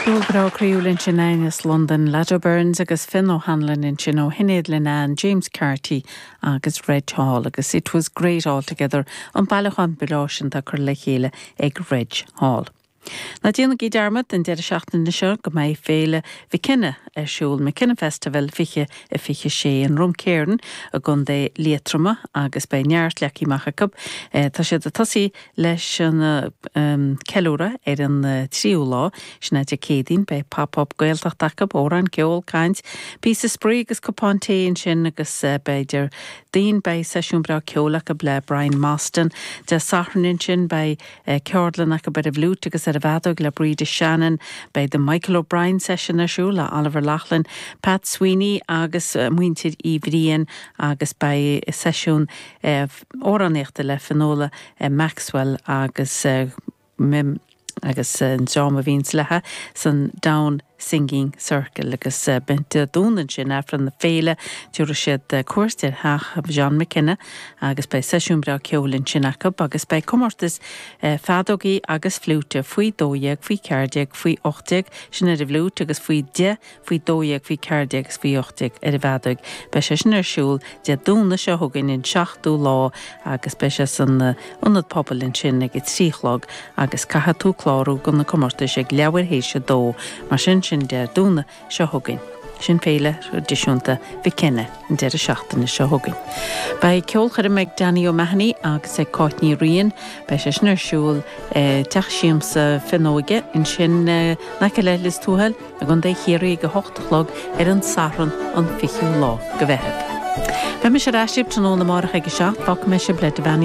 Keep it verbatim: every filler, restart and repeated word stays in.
Ceol breá croíúil ansin as Londain Lado Burns agus Finn O'Hanlon ansin ó Shinéad Linnane, James Carty agus Reg Hall agus it was great all together an bailiúchán breá sin atá curtha le chéile ag Reg Hall. Ná déanaigí dearmad an deireadh seachtaine seo go mbeidh féile McKenna ar siúl McKenna Festival fiche a fiche sé in Drumkeeran i gContae Liatroma agus beidh neart leagtha amach acu. E, tá siad ag tosú leis an um, ceiliúradh ar an uh, tríú lá sin Dé Céadaoin beidh pop-up Gaeltacht acu amhráin ceol caint, píosa spraoi agus cupán tae ansin agus uh, b'fhéidir daon beidh seisiún breá ceoil acu le Brian Mostyn Dé Sathairn ansin beidh uh, ceardlann acu ar an bhfliúit agus ar an bhfeadóg le Breda Shannon, beidh the Michael O'Brien session ar siúl le Oliver Lachlan, Pat Sweeney agus uh, muintir Uí Bhriain agus beidh seisiún uh, amhránaíochta le Finola uh, Maxwell agus uh, mim agus an dream a bhíonn léithe san Down Singing Circle agus uh, Dé Domhnaigh ansin Aifreann na féile tabharfaidh siad uh, cuairt ar theach John McKenna agus beidh seisiún breá ceoil ansin acu agus beidh comórtas uh, feadógaí agus fliúite faoi dó dhéag faoi ceathair déag faoi ocht déag sin ar an bhfliúit agus faoi deich faoi dó dhéag faoi ceathair déag agus faoi ocht déag ar an bhfeadóg. Beidh sé sin ar siúl Dé Domhnaigh seo chugainn an seachtú lá agus beidh sé san ionad pobail ansin ag a trí a chlog agus caithfidh tú clárú do na comórtais ag leathuair théis a dó mar sin sin Dé Domhnaigh seo chugainn. Sin féile traidisiúnta McKenna an deireadh seachtaine seo chugainn. Beidh ceolchoirm ag Danny O'Mahony agus ag Cáit Ní Riain, beidh sé sin ar siúl teach siamsa Fionnóige ansin in aice le Lios Tuathail i gContae Chiarraí ag a hocht a chlog ar an Satharn an fichiú lá de Mheitheamh. Beidh mise ar ais tráthnóna amárach ag a seacht fágfaidh mé sibh le Devaney's